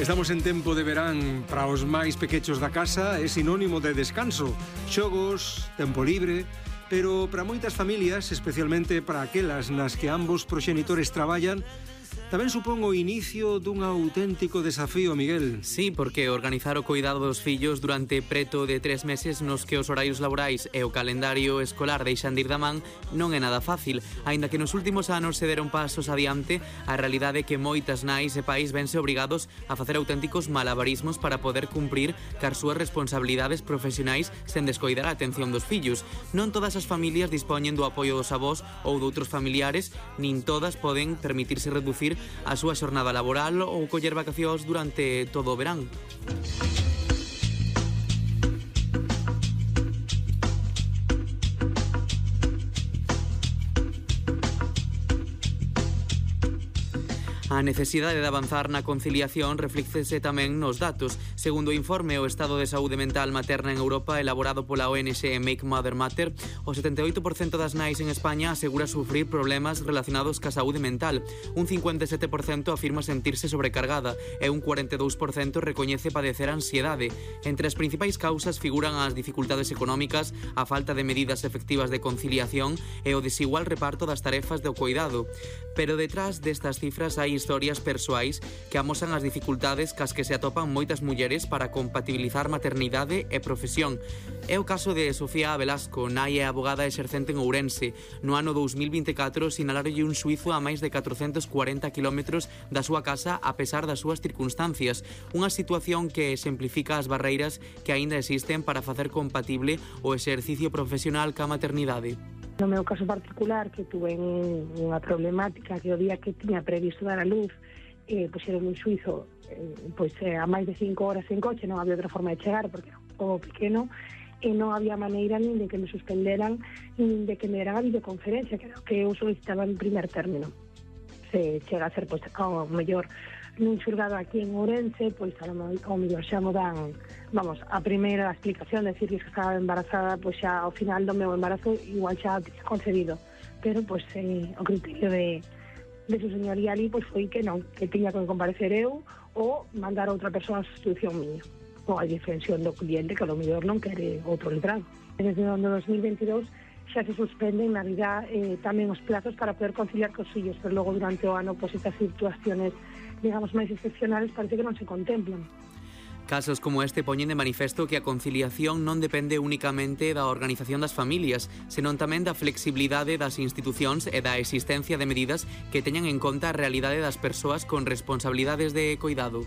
Estamos en tempo de verán. Para os máis pequechos da casa é sinónimo de descanso, xogos, tempo libre, pero para moitas familias, especialmente para aquelas nas que ambos proxenitores traballan, tamén supón o inicio dun auténtico desafío, Miguel. Sí, porque organizar o cuidado dos fillos durante preto de 3 meses nos que os horarios laborais e o calendario escolar deixan de ir da man non é nada fácil. Aínda que nos últimos anos se deron pasos adiante, a realidade é que moitas nais e pais vense obrigados a facer auténticos malabarismos para poder cumprir car súas responsabilidades profesionais sen descoidar a atención dos fillos. Non todas as familias dispoñen do apoio dos avós ou doutros familiares, nin todas poden permitirse reducir a súa xornada laboral ou coller vacacións durante todo o verán. A necesidade de avanzar na conciliación reflícese tamén nos datos. Segundo o informe O Estado de Saúde Mental Materna en Europa elaborado pola ONG Make Mother Matter, o 78% das nais en España asegura sufrir problemas relacionados ca saúde mental. Un 57% afirma sentirse sobrecargada e un 42% recoñece padecer ansiedade. Entre as principais causas figuran as dificultades económicas, a falta de medidas efectivas de conciliación e o desigual reparto das tarefas do cuidado. Pero detrás destas cifras hai historias persoais que amosan as dificultades cas que se atopan moitas mulleres para compatibilizar maternidade e profesión. É o caso de Sofía Velasco, nai e abogada exercente en Ourense. No ano 2024 sinalarolle un suizo a máis de 440 km da súa casa a pesar das súas circunstancias. Unha situación que exemplifica as barreiras que aínda existen para facer compatible o exercicio profesional ca maternidade. No meu caso particular, que tuve unha problemática que o día que tiña previsto dar a luz, puxeron un suizo a máis de 5 horas en coche, non había outra forma de chegar porque era un pouco pequeno, e non había maneira nin de que me suspenderan, nin de que me deran a videoconferencia, que era o que eu solicitaba en primer término. Se chega a ser, ao mellor, nun xulgado aquí en Ourense, ao mellor xa mo dan, a primeira explicación, decir que estaba embarazada, xa ao final do meu embarazo igual xa tiña concebido, pero o criterio de su señoría ali foi que non, que tiña que comparecer eu ou mandar a outra persoa a sustitución miña, ou a defensión do cliente que ao mellor non quere outro letrado. Desde o ano 2022 xa se suspenden na vida tamén os plazos para poder conciliar cos fillos, pero logo durante o ano estas situaciones, digamos, máis excepcionales parece que non se contemplan. Casos como este poñen de manifesto que a conciliación non depende únicamente da organización das familias, senón tamén da flexibilidade das institucións e da existencia de medidas que teñan en conta a realidade das persoas con responsabilidades de coidado.